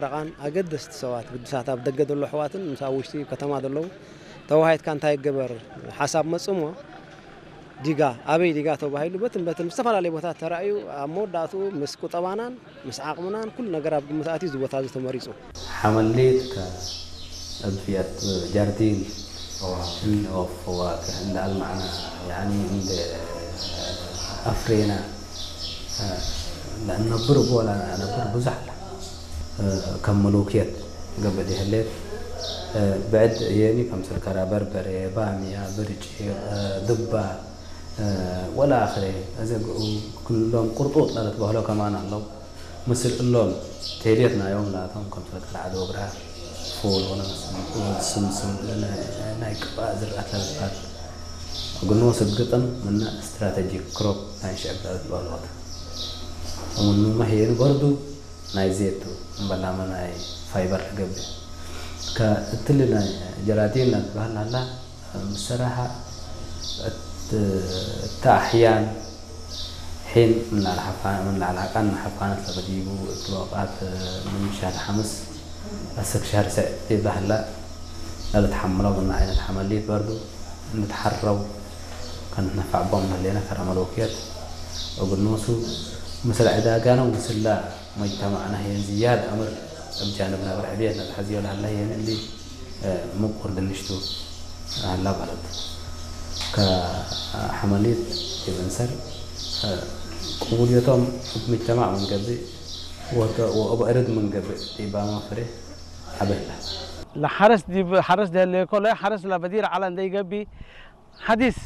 ደቓን ኣገደስቲ ሰባት ግዱሳት ኣብ ደገ ዘለዉ ኣሕዋትን ምስ ኣብ ውሽጢ ከተማ ዘለዉ ተወሃሂድካ እንታይ ይገበር ሓሳብ መጽእ እሞ ዲጋ ኣበይ ዲጋ ተባሂሉ በትን በትን ዝተፈላለየ ቦታት ተራእዩ ኣብ መወዳእትኡ ምስ ቁጠባናን ምስ ዓቕምናን ኩሉ ነገር ኣብ ግምት ኣትዩ እዚ ቦታ እዚ ተመሪጹ። حمليت كأضفية جاردين أوف فواكه عند المعنى يعني عند أفرينا لأن نبر ولا نبر بزح كم ملوكيت قبل هليت بعد يعني كم سكرة بربرة بامية برجي دبة ولا آخره إذا كلهم قرطوط لا تبهلوا كمان الله ምስል እሎም ቴሌት ናዮም ናቶም ከም ሰለጠ ዓዲ ወግራ ፉል ሆነ ስምስም ናይ ቅባእ ዝርኣት ለበትታት ግኖ ስግጥም ምነ ስትራቴጂክ ክሮፕ ናይ ሽዕብ ለበት በልወት ምኑ መህየኑ በርዱ ናይ ዜቱ እምበላመ ናይ ፋይበር ትገብር ከእትል ናይ ጀራዲን ናትበሃል ናላ ምስራሓ እታ ኣሕያን ሒን ምን ላዕሊ ሓፋ- ምን ላዕሊ ዓቃን ንሓፋነት ለበዲቡ እትወቃት ምን ሻር ሓምስ ኣሰክ ሻር ስዕ ይብላ ህላ ለልትሓምሎ ምን ዓይነት ሓመሊት በርዱ እንድትሓረው ከንትነፋዕቦም ለሌና ከረመ ለውክየት እግድ ንሱ ምስል ዕዳጋነው ምስላ መጅተማዕና ህየን ዝያድ ኣምር እብ ጃንብ ነበር ዕብየት ነትሐዝዮ ለሀላ ህየን እሊ ምቁር ድንሽቱ ሀላ ማለት ከሐመሊት ይብንሰር ቅቡልዮቶም እብ ምጅተማዕ ምንገብእ ወእብ ዕርድ ምንገብእ ዲባማ ፍሬ ዐበህላ። ለሐረስ ዲብ ሐረስ ደህሌኮ ለሐረስ ለበዲር ዐለ እንደ ይገቢ ሐዲስ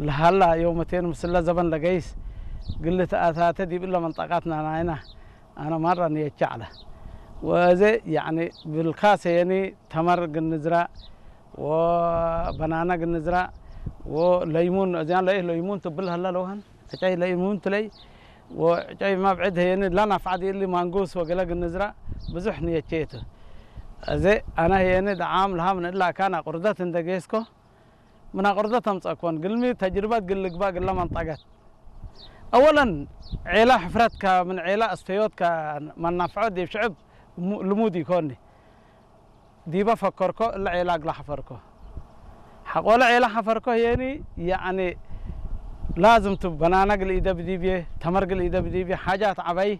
ለሀላ ዮመቴን ምስለ ዘበን ለገይስ ግል ተአታተ ዲብ እለ መንጠቃት ናናይና አነ ማራ ንየቼ ዐለ። ወእዜ ያኒ ብልካሰ የኒ ተመር ግንዝራእ ወበናና ግንዝራእ ወለይሙን እዚያን ለይህ ለይሙን ትብል ሀላ ለውሀን ዕጨይ ለይሙን ትለይ ወዕጨይ መብዕድ ህየኒ ለናፍዓድ እሊ ማንጉስ ወገለ ግንዝራእ ብዙሕ ንየቼ የቱ። እዜ አነ ህየኒ ደዓም ለሃ ምን እላ አካን አቁርደት እንደ ጌስኮ ምን አቁርደት አምጸእኮን ግልሚ ተጅርበት ግል ልግባእ ግለ መንጠገት። አወለን ዔላ ሕፍረትከ ምን ዔላ አስተዮትከ መናፍዖ ዲብ ሽዕብ ልሙድ ኢኮኒ። ዲበ ፈከርኮ እለ ዔላ እግለ ሐፈርኮ። ሐቆለ ዔላ ሐፈርኮ ህየኒ ያኒ ላዝም ቱ በናና እግል ኢደብ ዲብዬ ተመር እግል ኢደብ ዲብዬ ሐጃት ዐበይ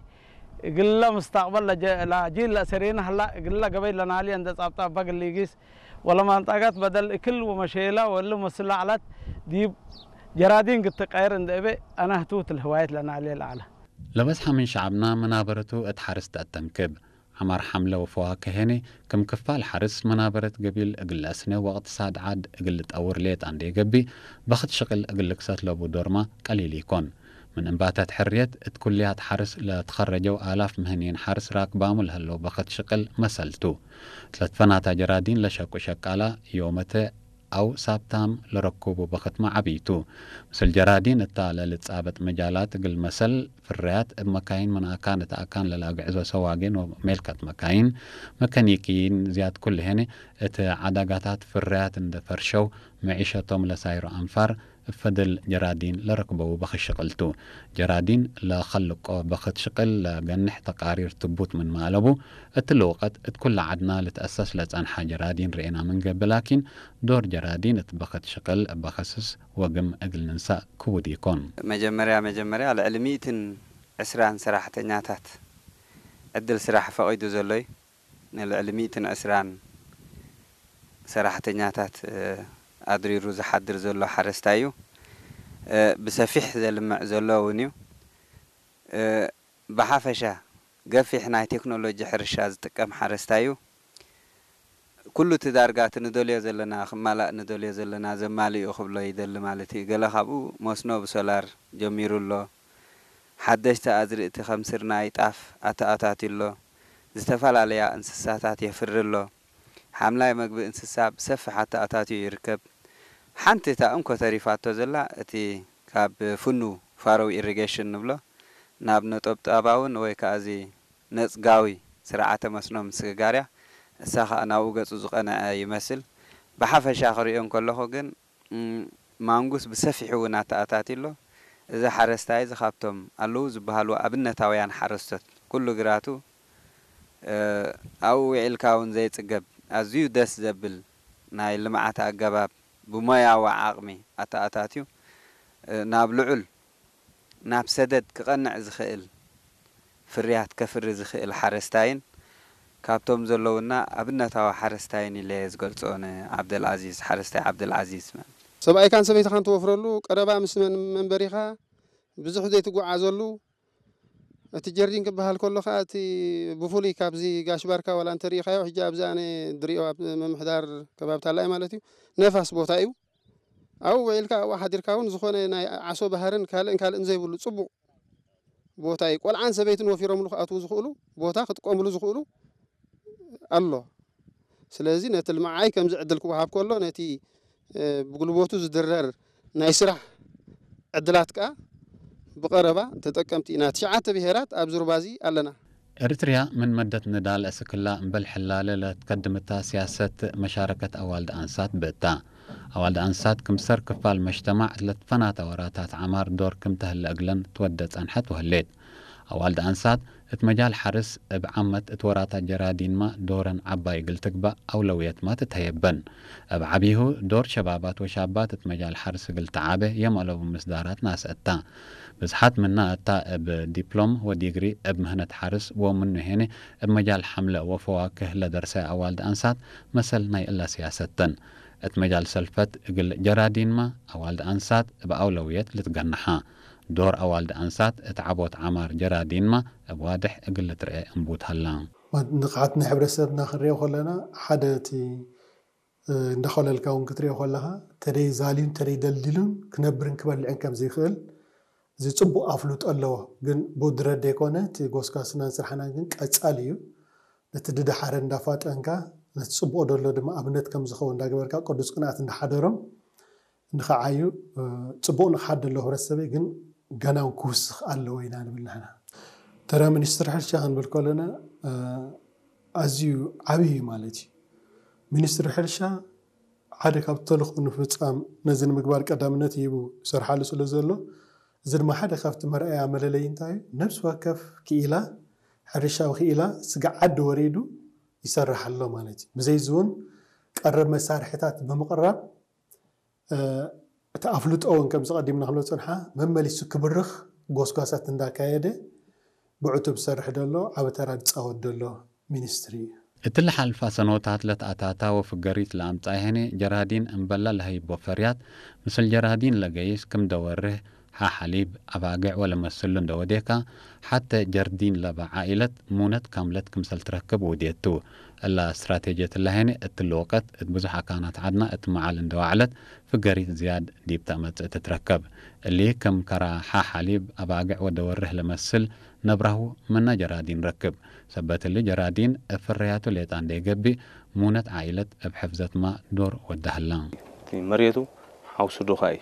እግለ ምስተቅበል ለጂል ለእሰሬነ ሀላ እግለ ገበይ ለናልየ እንደ ጻብጣ እበ እግል ኢጊስ ወለመንጠገት በደል እክል ወመሼለ ወእሊ መስል ለዐለት ዲብ ጀራዲን ግትቀየር እንደ እቤ አነ ህቱት ለህዋየት ለናልየ ለዐለ። ለበዝሐ ምን ሸዐብና መናበረቱ እት ሐርስ ተአተንክብ። ዐማር ሐምለ ወፈዋክህ ሄኔ ክም ክፋል ሐርስ መናበረት ገቢል እግል ለአስነ ወእቅትሳድ ዐድ እግል ልጠውር ሌጣ እንዴ ገብእ፣ በክት ሽቅል እግል ልክሰት ለቡ ዶርማ ቀሊል ኢኮን። ምን እንባተት ሕርየት እት ኩልያት ሐርስ ለትኸረጀው አላፍ ምህንይን ሐርስ ራክባሙ ለህለው በክት ሽቅል መሰል ቱ። ለትፈናታ ጀራዲን ለሸቁ ሸቃላ ዮመተ አው ሳብታም ለረኩቡ በክትመ ዐቢ ቱ። ምስል ጀራዲን እታ ለልጻበጥ መጃላት እግል መሰል ፍርያት እብ መካይን ምን አካን እት አካን ለላግዕዞ ሰዋጌን ወሜልከት መካይን፣ መከኒክይን ዝያድ ኩልሄን እት ዐዳጋታት ፍርያት እንደ ፈርሸው መዒሸቶም ለሳይሮ አንፋር እብ ፈደል ጀራዲን ለረክበው በክት ሽቅል ቱ። ጀራዲን ለከልቆ በክት ሽቅል ለገንሕ ተቃሪር ትቡት ምንመ አለቡ፣ እትሊ ወቀት እት ኩለ ዐድና ልትአሰስ ለጸንሐ ጀራዲን ርኤና ምንገብእ ላኪን፣ ዶር ጀራዲን እት በክት ሽቅል እበ ከስስ ወግም እግል ንንሳእ ክቡድ ኢኮን። መጀመርያ መጀመርያ ልዕሊ ሚእትን ዕስራን ሰራሕተኛታት ዕድል ስራሕ ፈቒዱ ዘሎ እዩ። ንልዕሊ ሚእትን ዕስራን ሰራሕተኛታት ኣድሪሩ ዝሓድር ዘሎ ሓረስታይ እዩ። ብሰፊሕ ዘልምዕ ዘሎ እውን እዩ። ብሓፈሻ ገፊሕ ናይ ቴክኖሎጂ ሕርሻ ዝጥቀም ሓረስታይ እዩ። ኩሉ እቲ ዳርጋ እቲ ንደልዮ ዘለና ክማላእ ንደልዮ ዘለና ዘማልእ እዩ ክብሎ ይደሊ ማለት እዩ። ገለ ካብኡ መስኖ ብሶላር ጀሚሩ ኣሎ። ሓደሽቲ ኣዝርእቲ ከም ስርናይ፣ ጣፍ ኣተኣታትዩ ኣሎ። ዝተፈላለያ እንስሳታት የፍሪ ኣሎ። ሓምላይ መግቢ እንስሳ ብሰፊሕ ኣተኣታትዩ ይርከብ። ሓንቲ እታ እንኮ ተሪፋቶ ዘላ እቲ ካብ ፍኑ ፋሮው ኢሪጌሽን ንብሎ ናብ ነጠብጣባውን ወይ ከኣ እዚ ነጽጋዊ ስርዓተ መስኖ ምስግጋር እያ። እሳ ከኣ ናብኡ ገጹ ዝቐንዐ ይመስል። ብሓፈሻ ክርእዮ እንከለኹ ግን ማንጉስ ብሰፊሑ እውን ኣተኣታትዩ ኣሎ። እዚ ሓረስታይ እዚ ካብቶም ኣለዉ ዝበሃሉ ኣብነታውያን ሓረስቶት ኩሉ ግራቱ ኣብኡ ውዒልካ እውን ዘይጽገብ ኣዝዩ ደስ ዘብል ናይ ልምዓት ኣገባብ ብሞያዊ ዓቕሚ ኣተኣታትዩ ናብ ልዑል ናብ ሰደድ ክቐንዕ ዝኽእል ፍርያት ከፍሪ ዝኽእል ሓረስታይን ካብቶም ዘለውና ኣብነታዊ ሓረስታይን ኢለ ዝገልጾ ንዓብደልዓዚዝ ሓረስታይ ዓብደልዓዚዝ ማለት። ሰብኣይካን ሰበይትኻን ትወፍረሉ ቀረባ ምስ መንበሪኻ ብዙሕ ዘይትጓዓዘሉ እቲ ጀርዲን ክበሃል ከሎ ከዓ እቲ ብፍሉይ ካብዚ ጋሽ ባርካ ዋላ እንተሪኢኻዮ ሕጂ ኣብዚ ኣነ ድሪኦ ኣብ ምምሕዳር ከባቢ ታላይ ማለት እዩ ነፋስ ቦታ እዩ ኣብኡ ውዒልካ ኣብኡ ሓዲርካ እውን ዝኾነ ናይ ዓሶ ባህርን ካልእን ካልእን ዘይብሉ ፅቡቕ ቦታ እዩ ቆልዓን ሰበይትን ወፊሮምሉ ክኣትዉ ዝኽእሉ ቦታ ክጥቀምሉ ዝኽእሉ ኣሎ ስለዚ ነቲ ልምዓይ ከምዚ ዕድል ክወሃብ ከሎ ነቲ ብጉልበቱ ዝድረር ናይ ስራሕ ዕድላት ከኣ ብቐረባ ተጠቀምቲ ኢና ትሽዓተ ብሄራት ኣብዚ ሩባ እዚ ኣለና። ኤርትርያ ምን መደት ንዳል እስክላ እምበል ሕላለ ለትከድምታ ሲያሰት መሻረከት ኣዋልድ ኣንሳት ብእታ። ኣዋልድ ኣንሳት ክምሰር ክፋል መጅተማዕ ለትፈናታ ወራታት ዓማር ዶር ክም ተህለ እግለን ትወደ ጸንሐት ወህሌት። ኣዋልድ ኣንሳት እት መጃል ሓርስ እብ ዓመት እት ወራታት ጀራዲንማ ዶረን ዓባይ እግል ትግባእ ኣውለውየትማ ትትሀየበን። እብ ዓቢሁ ዶር ሸባባት ወሻባት እት መጃል ሓርስ እግል ተዓበ የም አለቡ ምስዳራት ናሰ እታ። ብዝሓት ምና እታ እብ ዲፕሎም ወዲግሪ እብ ምህነት ሓርስ ወምኑ ሄነ እብ መጃል ሓምለ ወፈዋክህ ለደርሰ ኣዋልድ ኣንሳት መሰል ናይ እላ ሲያሰተን። እት መጃል ሰልፈት እግል ጀራዲንማ ኣዋልድ ኣንሳት እብ ኣውለውየት ልትገነሓ። ዶር ኣዋልድ ኣንሳት እት ዓቦት ዓማር ጀራዲንማ እብ ዋድሕ እግል ልትርኤ እንቡት ሀላ። ንቕሓት ናይ ሕብረተሰብና ክንሪኦ ከለና ሓደ እቲ እንዳኾለልካ እውን ክትሪኦ ከለኻ ተደይ ዛልዩን ተደይ ደልዲሉን ክነብርን ክበልዕን ከም ዘይኽእል እዚ ፅቡቕ ኣፍልጦ ኣለዎ። ግን ብድረት ደይኮነ እቲ ጎስጓስናን ስራሕናን ግን ቀፃሊ እዩ። ነቲ ድደሓረ እንዳፋጠንካ ነቲ ፅቡቕ ደሎ ድማ ኣብነት ከም ዝኸውን እንዳገበርካ ቅዱስ ቅንኣት እንዳሓደሮም ንኸዓዩ ፅቡቕ ንኽሓድ ደሎ ህብረተሰበይ ግን ገና እውን ክውስኽ ኣለዎ ኢና ንብል ንሕና። ተራ ሚኒስትር ሕርሻ ክንብል ከለና ኣዝዩ ዓብዪ እዩ ማለት እዩ። ሚኒስትሪ ሕርሻ ሓደ ካብቲ ተልእኾ ንምፍፃም ነዚ ንምግባር ቀዳምነት ሂቡ ይሰርሓሉ ስለ ዘሎ እዚ ድማ ሓደ ካብቲ መርኣያ መለለዪ እንታይ እዩ? ነብሲ ወከፍ ክኢላ ሕርሻዊ ክኢላ ስግዓ ዓዲ ወሪዱ ይሰርሕ ኣሎ ማለት እዩ። ብዘይ እዚ እውን ቀረብ መሳርሒታት ብምቕራብ እቲ ኣፍልጦ እውን ከምዚ ቀዲምና ክንብሎ ዝፀንሓ መመሊሱ ክብርኽ ጎስጓሳት እንዳካየደ ብዕቱብ ዝሰርሕ ዘሎ ዓቢ ተራ ዝፃወት ዘሎ ሚኒስትሪ እዩ። እቲ ልሓልፋ ሰኖታት ለትኣታታ ወፍገሪት ለኣምጻ ይሄኔ ጀራዲን እምበላ ለሀይቦ ፈርያት ምስል ጀራዲን ለገይስ ክም ደወርህ ሓ ሓሊብ ኣባግዕ ወለመስሉ እንደወዴካ ሓተ ጀርዲን ለባ ዓኢለት ሙነት ካምለት ክምሰል ትረክብ ውዴቱ። እላ ስትራቴጅየት እላሄኔ እትሊ ወቀት እት ብዙሕ ኣካናት ዓድና እት መዓል እንደዋዕለት ፍገሪት ዝያድ ዲብ ተእመጽእ ትትረከብ። እሊ ክም ከራ ሓ ሓሊብ ኣባግዕ ወደወርህ ለመስል ነብራሁ ምና ጀራዲን ረክብ። ሰበት እሊ ጀራዲን እብ ፍርያቱ ሌጣ እንዴ ገብእ፣ ሙነት ዓኢለት እብ ሕፍዘትማ ዶር ወዳህላ። እቲ መሬቱ ሓውሱ ዱኻ እዩ።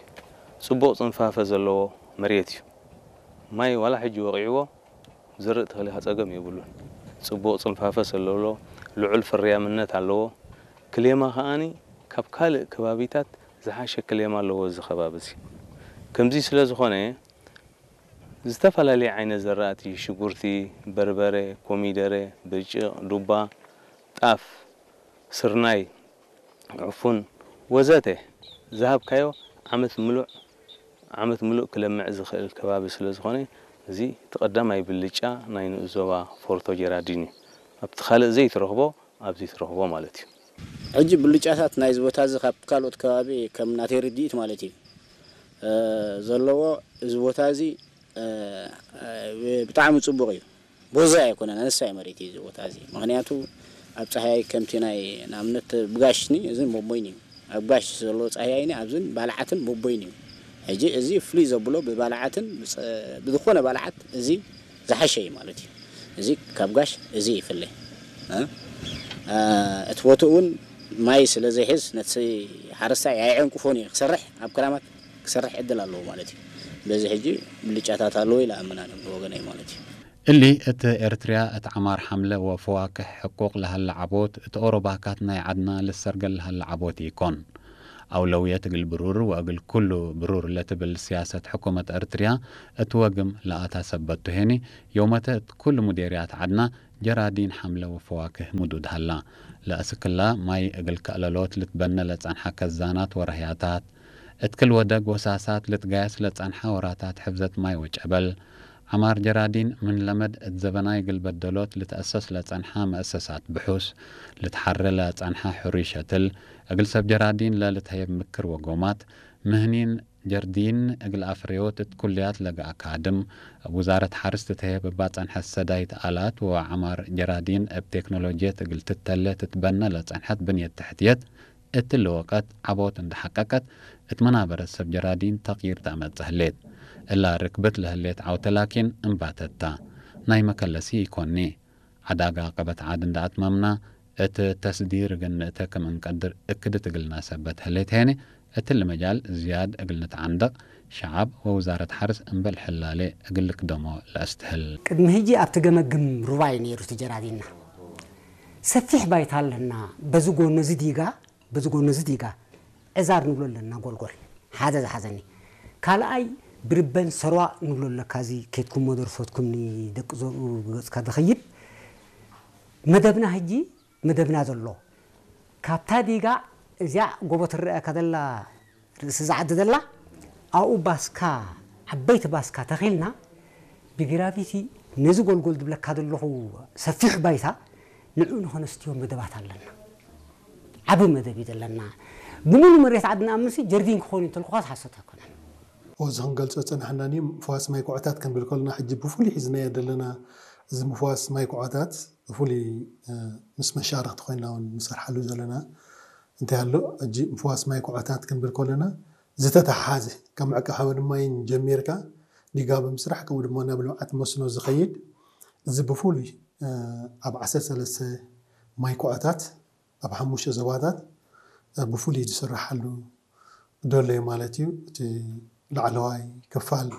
ጽቡቕ ጽንፋፈ ዘለዎ መሬት እዩ። ማይ ዋላ ሕጂ ወቒዕዎ ዝርእ ተኽሊኻ ጸገም የብሉን። ጽቡቕ ጽንፋፈ ስለሎ ልዑል ፍርያምነት ኣለዎ። ክሌማ ከኣኒ ካብ ካልእ ከባቢታት ዝሓሸ ክሌማ ኣለዎ እዚ ከባቢ እዚ። ከምዚ ስለ ዝኾነ ዝተፈላለየ ዓይነት ዘራእቲ ሽጉርቲ፣ በርበረ፣ ኮሚደረ፣ ብርጭቕ፣ ዱባ፣ ጣፍ፣ ስርናይ፣ ዕፉን ወዘተ ዝሃብካዮ ዓመት ምሉእ ዓመት ምሉእ ክለምዕ ዝኽእል ከባቢ ስለ ዝኾነ እዚ እቲ ቀዳማይ ብልጫ ናይ ንኡስ ዞባ ፎርቶ ጀራዲን እዩ። ኣብቲ ካልእ ዘይትረኽቦ ኣብዚ ትረኽቦ ማለት እዩ። ሕጂ ብልጫታት ናይዚ ቦታ እዚ ካብ ካልኦት ከባቢ ከም ናተይ ርድኢት ማለት እዩ ዘለዎ እዚ ቦታ እዚ ብጣዕሚ ፅቡቕ እዩ። ቦዛ ኣይኮነን ኣነሳይ መሬት እዩ እዚ ቦታ እዚ ምክንያቱ ኣብ ፀሃይ ከምቲ ናይ ንኣብነት ብጋሽኒ እዚ ቦቦይኒ እዩ ኣብ ጋሽ ዘሎ ፀሃይኒ ኣብዝን ባልዓትን ቦቦይኒ እዩ ሕጂ እዚ ፍሉይ ዘብሎ ብባልዓትን ብዝኮነ ባልዓት እዚ ዝሓሸ እዩ ማለት እዩ። እዚ ካብ ጋሽ እዚ ይፍለ። እቲ ቦትኡ እውን ማይ ስለ ዘይሕዝ ነቲ ሓረስታይ ኣየዕንቅፎን እዩ ክሰርሕ ኣብ ክራማት ክሰርሕ ዕድል ኣለዎ ማለት እዩ። በዚ ሕጂ ብልጫታት ኣለዎ ኢለ ኣምን ኣነ ብወገነይ ማለት እዩ። እሊ እት ኤርትርያ እት ዐማር ሐምለ ወፈዋክሕ ሕቁቅ ለሀለ ዐቦት እት ኦሮባካት ናይ ዐድና ልሰርገል ለሀለ ዐቦት ኢኮን። አውለውየት እግል ብሩር ወእግል ኩሉ ብሩር ለትብል ስያሰት ሕኩመት ኤርትርያ እት ወግም ለአታ ሰበት ቱ ሄኒ፣ ዮመተ እት ኩሉ ሙዴርያት ዐድና ጀራዲን ሓምለዊ ፈዋክህ ምዱድ ሃላ። ለአስክላ ማይ እግል ከእለሎት ልትበነ ለጸንሐ ከዛናት ወረህያታት። እትክል ወደግ ወሳሳት ልትጋየስ ለጸንሐ ወራታት ሕፍዘት ማይ ወጨበል። ዐማር ጀራዲን ምን ለመድ እት ዘበናይ እግል በደሎት ልትአሰስ ለጸንሐ መእሰሳት ብሑስ። ልትሐረ ለጸንሐ ሕሩይ ሸትል። እግል ሰብ ጀራዲን ለልትሀየብ ምክር ወጎማት። ምህኒን ጀርዲን እግል አፍርዮት እት ኩልያት ለገ አካድም። እብ ውዛረት ሐርስ ትትሀየብ እባ ጸንሐት ሰዳይት አላት ወዐማር ጀራዲን እብ ቴክኖሎጅየት እግል ትተሌ ትትበነ ለጸንሐት ብንየት ተሕትየት እትሊ ወቀት ዐቦት እንደ ሐቀቀት እት መናበረት ሰብ ጀራዲን ተቅይር ተአመጽእ ህሌት። እላ ርክብት ለህሌት ዐውተ ላኪን እንባተት ታ። ናይ መከለሲ ኢኮኒ። ዐዳጋ ቀበት ዐድ እንደ አትመምና እት ተስዲር እግል ንእተ ክም እንቀድር እክድት እግልና ሰበት ህሌት ሄነ እትሊ መጃል ዝያድ እግል ንትዓንደቅ ሸዐብ ወውዛረት ሐርስ እምበል ሕላሌ እግል ልክደሞ ለአስትህል። ቅድሚ ህጂ ኣብቲ ገመግም ሩባይ ነይሩ እቲ ጀራዲንና። ሰፊሕ ባይታ ኣለና። በዚ ጎኒ እዚ ዲጋ፣ በዚ ጎኒ እዚ ዲጋ ዕዛር ንብሎ ኣለና ጎልጎል። ሓደ ዝሓዘኒ። ካልኣይ ብርበን ሰሯ ንብሎ ኣለካ። እዚ ኬድኩም መደርፎትኩም ንደቂ ዘርኡ ብገጽካ ዝኸይድ መደብና ህጂ መደብና ዘሎ ካብታ ዲጋ እዚኣ ጎቦ ትረአካ ዘላ ርእሲ ዝዓዲ ዘላ ኣብኡ ባስካ ዓበይቲ ባስካ ተኺልና ብግራቪቲ ነዚ ጎልጎል ዝብለካ ዘለኹ ሰፊሕ ባይታ ንዑ ንኸነስትዮ መደባት ኣለና። ዓቢ መደብ እዩ ዘለና። ብምሉ መሬት ዓድና ኣብ ምሲ ጀርዲን ክኾን እዩ እንተልኩኻስ ሓሶት ኣይኮነን። እዚ ክንገልጾ ጸናሕና ኒ ምፍዋስ ማይ ኩዖታት ክንብል ከለና ሕጂ ብፍሉይ ሒዝናዮ ዘለና እዚ ምፍዋስ ማይ ኩዖታት ብፍሉይ ምስ መሻርኽቲ ኮይና እውን ንሰርሓሉ ዘለና እንታይ ኣሎ ሕጂ ምፍዋስ ማይ ኩዖታት ክንብል ከለና ዝተተሓሓዘ ካብ ምዕቃብ ሓመድ ማይን ጀሚርካ ዲጋ ብምስራሕ ከምኡ ድማ ናብ ልምዓት መስኖ ዝኸይድ እዚ ብፍሉይ ኣብ ዓሰርተ ሰለስተ ማይ ኩዖታት ኣብ ሓሙሽተ ዞባታት ብፍሉይ ዝስረሓሉ ደሎ እዩ ማለት እዩ። እቲ ላዕለዋይ ክፋል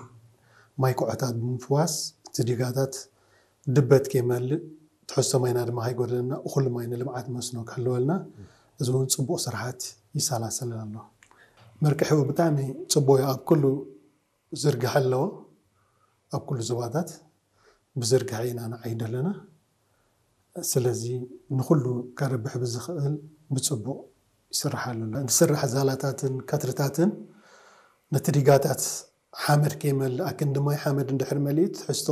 ማይ ኩዖታት ብምፍዋስ እቲ ዲጋታት ድበት ከይመልእ ትሕዝቶ ማይና ድማ ከይጎድለና እኹል ማይ ንልምዓት መስኖ ክሕልወልና እዚ እውን ፅቡቕ ስራሓት ይሰላሰል ኣሎ። መርቅሒኡ ብጣዕሚ ፅቡቕ እዩ። ኣብ ኩሉ ዝርግሐ ኣለዎ። ኣብ ኩሉ ዞባታት ብዝርግሐ ኢና ንዓይድ ኣለና። ስለዚ ንኹሉ ከረብሕ ብዝኽእል ብፅቡቕ ይስራሕ ኣሎ። ዝስራሕ ዛላታትን ከትርታትን ነቲ ዲጋታት ሓመድ ከይመልእ ኣክንዲ ማይ ሓመድ እንድሕር መሊኡ ትሕዝቶ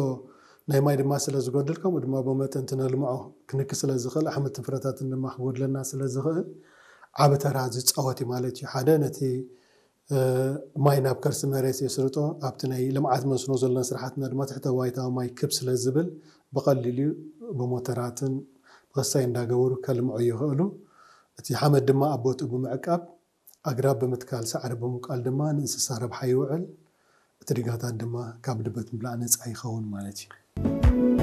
ናይ ማይ ድማ ስለ ዝጎድል ከምኡ ድማ ብመጠን እቲ ነልምዖ ክንኪ ስለ ዝኽእል ኣሕምልትን ፍረታትን ድማ ክጎድለና ስለ ዝኽእል ዓቢ ተራ ዝፃወት እዩ ማለት እዩ። ሓደ ነቲ ማይ ናብ ከርሲ መሬት የስርጦ ኣብቲ ናይ ልምዓት መስኖ ዘለና ስራሕትና ድማ ትሕተ ባይታዊ ማይ ክብ ስለ ዝብል ብቐሊሉ ብሞተራትን ብኸሳይ እንዳገበሩ ከልምዑ ይኽእሉ። እቲ ሓመድ ድማ ኣብ ቦትኡ ብምዕቃብ ኣግራብ ብምትካል ሳዕሪ ብምብቃል ድማ ንእንስሳ ረብሓ ይውዕል። እቲ ዲጋታት ድማ ካብ ድበት ምብላዕ ነፃ ይኸውን ማለት እዩ።